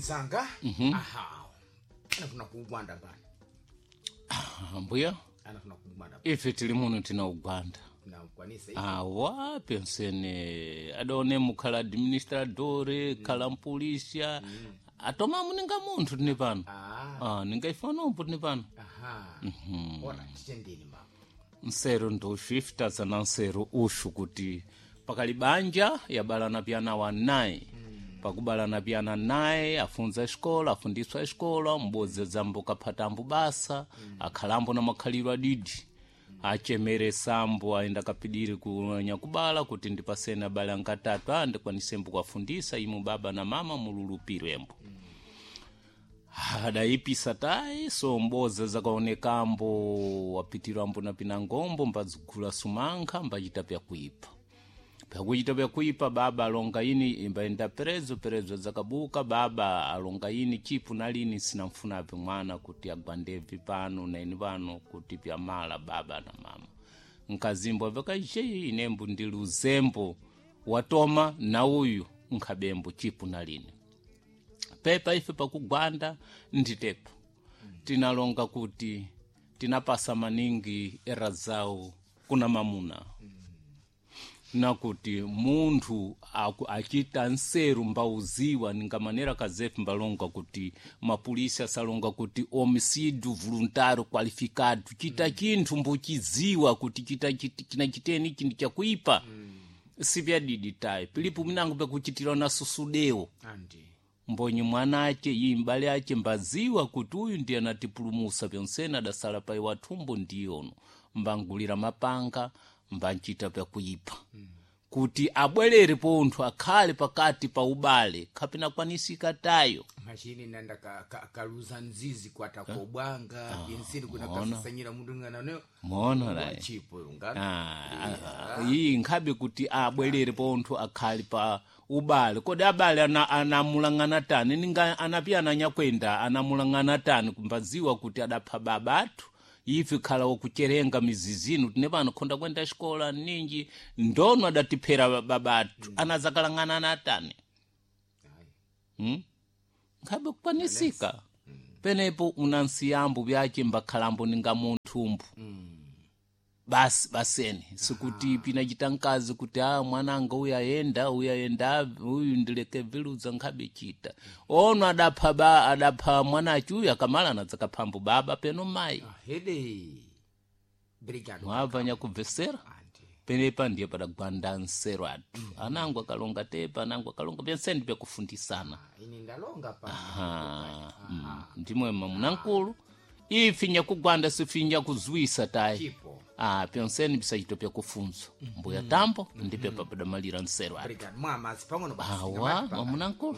Mzanga, aha, anafuna kuugwanda pano. Mbuya. Anafuna kuugwanda pano. Ife tili muno tina ugwanda. Nakukwanisa ife. Awa pensene adaone mukhala administradore, khala mpulisha, atoma muninga munthu tine pano. Ah. Ah, ningaifanompo tine pano. Aha, ora titendeni mama. Nseru nduxu ife tazana nseru uxu kuti pakali banja yabalana pyana wa naye, pakubalana pyana naye afunza escola, afundiswa escola, m'bodzi zambo kaphatambo basa, akhalambo na makhaliro adidi, achemeresambo aenda kapidiri kunyakubala kuti ndipasene abale ankatatu a ndikwanisembo kuafundisa imu baba na mama mululupirembo. Adayipisa tayi so mboza zakaonekambo wapitirambo na pinangombo mbadzigula sumankha mbachita pyakuipa, pyakuchita pyakuipa. Baba alonga ini imbayenda perezo perezo zakabuka. Baba alonga ini chipu nalini sinamfunapi mwana kuti agwandevi pano naini pano kuti pyamala baba na mama nkazimbo vakaxei inembo ndili uzembo watoma na uyu nkhabembo chipu nalini pepa ife pakugwanda nditepo tinalonga kuti tinapasa maningi era zawo kuna mamuna na kuti munthu achita nseru mbauziwa ninga manera kazefe mbalonga kuti mapulisi asalonga kuti homicídio voluntário qualificado chita chinthu mbuchiziwa kuti chita china chiteni ichi ndi chakuipa, sipyadidi tayi pilipo minango pyakuchitira na susudewo. Andi. Mbonyi mwana ace iyi mbale ace mbaziwa kuti uyu ndiye anatipulumusa pyonsene adasala pai wathumbo ndiyono mbangulira mapanga mbanchita pyakuipa kuti abwerere pontho akhale pakati pa ubale khapina kwanisika tayo. Machini nanda kaluza nzizi kwatakobwanga pinsini kuna kasasanyira mundu ngana ne. Mona layi. Chipo nga. Ah, ah, iyi nkhabe kuti abwerere pontho akhale pa ubale kodi abale anamulang'ana tani ninga anapiyana anyakwenda anamulang'ana tani kumbaziwa kuti adapha baba athu ife khala wakucherenga mizizinu tine pano khonda kwenda xikola ninji ndono adatiphera baba athu anazakalang'ana na tani? Nkhabe kukwanisika penepo unansiyambo byace mbakhalambo ninga munthumbu basi basene sikuti pinachita mkazi kuti a mwananga uyu ayenda uyu ayenda uyu ndileke viluza nkhabe chita ono adapha ba adapha mwanachi uyu akamala anadzakaphambo baba peno mayi. Ahede, brigado. Mwabva nyakubvesera. Andi. Penepa ndiye padagwanda nsero athu anango akalonga tepa anango akalonga pyenseni pyakufundisana. Ini ndalonga pa. Ah, ndimwe mamunankulu ifi nyakugwanda sifi nyakuzwisa tayi. Chipo. Ah, pyonseni pisachito pyakufunzwa mbuya tambo ndipe papadamalira nsero athu. Brigado mwamazi pang'ono basi. Awa mamunankulu.